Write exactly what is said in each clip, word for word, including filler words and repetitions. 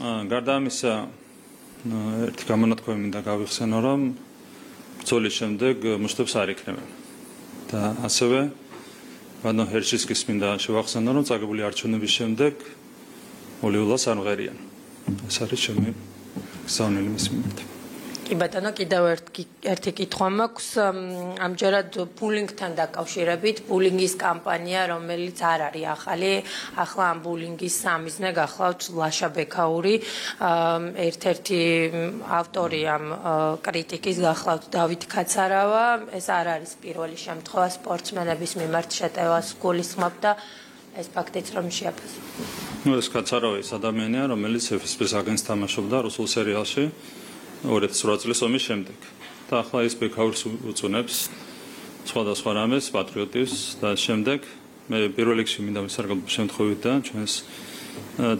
გარდა ამისა, ერთი გამონათქვამი მინდა გავიხსენო, რომ ბრძოლის შემდეგ მუშტებს არ იქნებიან. და ასევე ბატონ ჰერჩისკის მინდა შევახსენო, რომ წაგებული არჩევნების შემდეგ მოლეულას არ მღერიან. ეს არის ჩემი გზავნილი მის მიმართ. კი ბატონო, კიდევ ერთი კითხვა მაქვს ამჯერად ბულინგთან დაკავშირებით, ბულინგის კამპანია, რომელიც არ არის ახალი, ახლა ამ ბულინგის სამიზნე გახლავთ ლაშა ბექაური, ერთ-ერთი ავტორი ამ კრიტიკის გახლავთ დავით კაცარავა, ეს არ არის პირველი შემთხვევა სპორტსმენების მიმართ შეტევას გულისხმობ და ეს ფაქტიც რომ შეაფასო. ნუ ეს კაცარავა ის ადამიანია, რომელიც ეფ ეს პე-ს აგენტს თამაშობდა რუსულ სერიალში ორი ათას ორი წლის ომის შემდეგ. და ახლა ის ბექაურს უწუნებს სხვადასხვა რამეს, პატრიოტიზმს და შემდეგ მე პირველ რიგში მინდა ვისარგებლო შემთხვევით და ჩვენს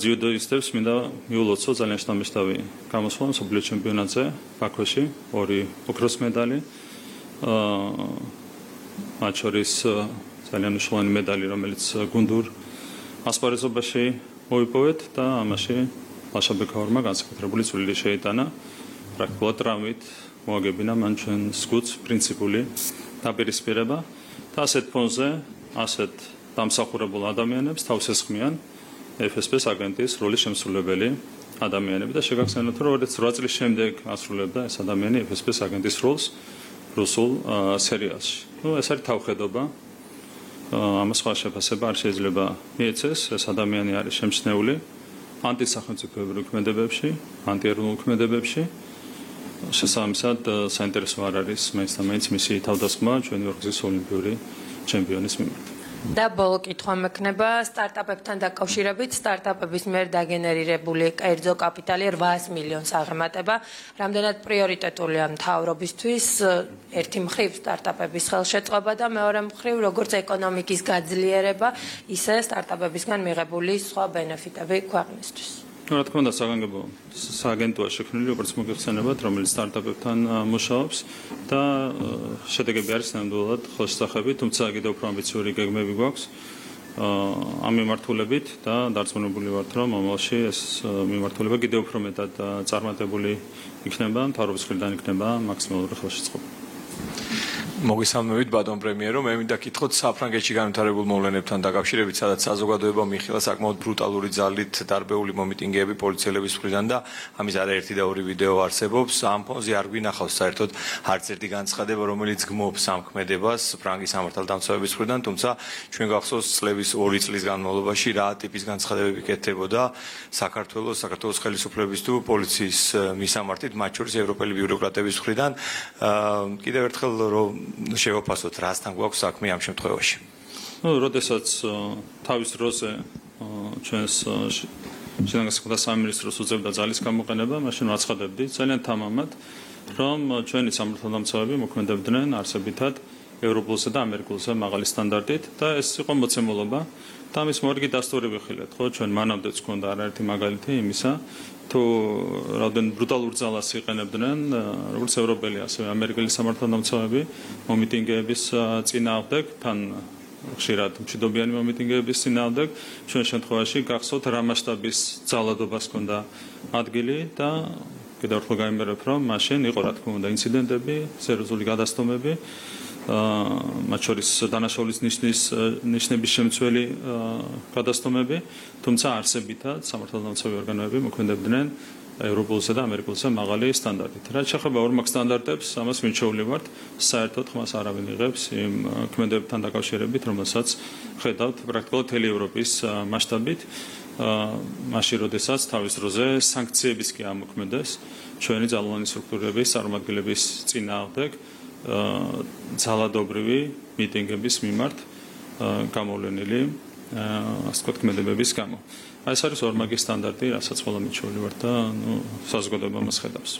ძიუდოისტებს მინდა მიულოცო ძალიან შთამბეჭდავი გამოსვლა მსოფლიო ჩემპიონატზე ბაქოში, ორი ოქროს მედალი, მათ შორის ძალიან მნიშვნელოვანი მედალი, რომელიც გუნდურ ასპარეზობაში მოიპოვეთ და ამაში ლაშა ბექაურმა განსაკუთრებული წვლილი შეიტანა. პრაქტიკულად ტრამვით მოაგებინა მან ჩვენს გუნდს პრინციპული დაპირისპირება და ასეთ ფონზე, ასეთ დამსახურებულ ადამიანებს თავს ესხმიან ეფ ეს პე-ს აგენტის როლის შემსრულებელი ადამიანები და შეგახსენოთ, რომ ორი ათას ორი წლის შემდეგ ასრულებდა ეს ადამიანი ეფ ეს პე-ს აგენტის როლს რუსულ სერიალში. ნუ ეს არის თავხედობა. ამას სხვა შეფასება არ შეიძლება მიეცეს, ეს ადამიანი არის შემჩნეული ანტისახელმწიფოებრივ ქმედებებში, ანტიეროვნულ ქმედებებში. შესაბამისად საინტერესო არ არის მაინც და მაინც მისი თავდასხმა ჩვენი ორგზის ოლიმპიური ჩემპიონის მიმართ. და ბოლო კითხვა მექნება სტარტაპებთან დაკავშირებით, სტარტაპების მიერ დაგენერირებული კერძო კაპიტალი რვაას მილიონს აღემატება. რამდენად პრიორიტეტულია მთავრობისთვის ერთი მხრივ სტარტაპების ხელშეწყობა და მეორე მხრივ როგორც ეკონომიკის გაძლიერება, ისე სტარტაპებისგან მიღებული სხვა ბენეფიტები ქვეყნისთვის. რა თქმა უნდა, საგანგებო სააგენტოა შექმნილი, როგორც მოგეხსენებათ, რომელიც სტარტაპებთან მუშაობს და შედეგები არის ნამდვილად ხელშესახები, თუმცა კიდევ უფრო ამბიციური გეგმები გვაქვს ამ მიმართულებით და დარწმუნებული ვართ, რომ მომავალში ეს მიმართულება კიდევ უფრო მეტად წარმატებული იქნება, მთავრობის მხრიდან იქნება მაქსიმალური ხელშეწყობა. მოგესალმებით ბატონ პრემიერო, მე მინდა გითხოთ საფრანგეთში განვითარებულ მოვლენებთან დაკავშირებით, სადაც საზოგადოებამ იხილა საკმაოდ ბრუტალური ძალით დარბეული მომიტინგეები პოლიციელების მხრიდან და ამის არაერთი და ორი ვიდეო არსებობს. ამ ფონზე არ გვინახავს საერთოდ არც ერთი განცხადება, რომელიც გმობს ამ ქმედებას ფრანგის სამართალდამცავების მხრიდან, თუმცა ჩვენ გახსოვს წლების ორი წლის განმავლობაში რა ტიპის განცხადებები კეთდებოდა საქართველოს, საქართველოს ხელისუფლების თუ პოლიციის მისამართით, მათ შორის ევროპელი ბიუროკრატების მხრიდან. კიდევ ერთხელ რომ შევაფასოთ, რასთან გვაქვს საქმე ამ შემთხვევაში. ნუ, როდესაც თავის დროზე ჩვენს შინაგანსაკუთრებათა სამინისტროს უწევდა ძალის გამოყენება, მაშინ ვაცხადებდი ძალიან თამამად, რომ ჩვენი სამართალდამცავები მოქმედებდნენ არსებითად ევროპულზე და ამერიკულზე მაღალი სტანდარტით და ეს იყო მოცემულობა და ამის მორგი დასტური ვიხილეთ, ხო, ჩვენ მანამდეც გვქონდა არაერთი მაგალითი იმისა, თუ რამდენ ბრუტალურ ძალას იყენებდნენ როგორც ევროპელი, ასევე ამერიკელი სამართალდამცავები მომიტინგეების წინააღმდეგ, თან ხშირად მშვიდობიანი მომიტინგეების წინააღმდეგ, ჩვენ შემთხვევაში გახსოვთ რა მასშტაბის ძალადობას ჰქონდა ადგილი და კიდევ ერთხელ გაიმეორებ, რომ მაშინ იყო რა თქმა უნდა ინციდენტები, სერიოზული გადასტომები, მათ შორის დანაშაულის ნიშნის ნიშნების შემცველი გადასტომები, თუმცა არსებითად სამართალდამცავი ორგანოები მოქმედებდნენ ევროპულსა და ამერიკულსა მაღალი სტანდარტით. რაც შეეხება ორმაგ სტანდარტებს, ამას მირჩეული ვართ, საერთოდ ხმას არავინ იღებს იმ ქმედებებთან დაკავშირებით, რომელსაც ხედავთ პრაქტიკულად მთელი ევროპის მასშტაბით, მაშინ როდესაც თავის დროზე სანქციების კი ამოქმედეს ჩვენი ძალოვანი სტრუქტურების წარმომადგენლების წინააღმდეგ ძალადობრივი მიტინგების მიმართ გამოვლენილი ასე ვთქვათ ქმედებების გამო. ეს არის ორმაგი სტანდარტი, რასაც ყველა მირჩეული ვართ და ნუ საზოგადოება მას ხედავს.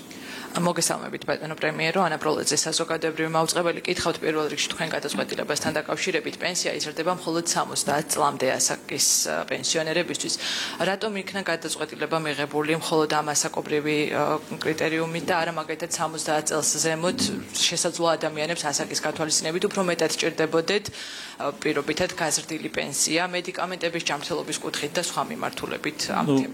მოგესალმებით ბატონო პრემიერო, ანა პროლეძე საზოგადოებრივი მაუწყებელი, კითხავთ პირველ რიგში თქვენ გადაწყვეტილებასთან დაკავშირებით, პენსია იზრდება მხოლოდ სამოცდაათ წლამდე ასაკის პენსიონერებისთვის. რატომ იქნა გადაწყვეტილება მიღებული მხოლოდ ამ ასაკობრივი კრიტერიუმით და არა მაგალითად სამოცდაათ წელს ზემოთ შესაძლო ადამიანებს ასაკის გათვალისწინებით უფრო მეტად სჭირდებოდეთ პირობითად გაზრდილი პენსია, მედიკამენტების ჯანმრთელობის კუთხით და სხვა მიმართულებით ამ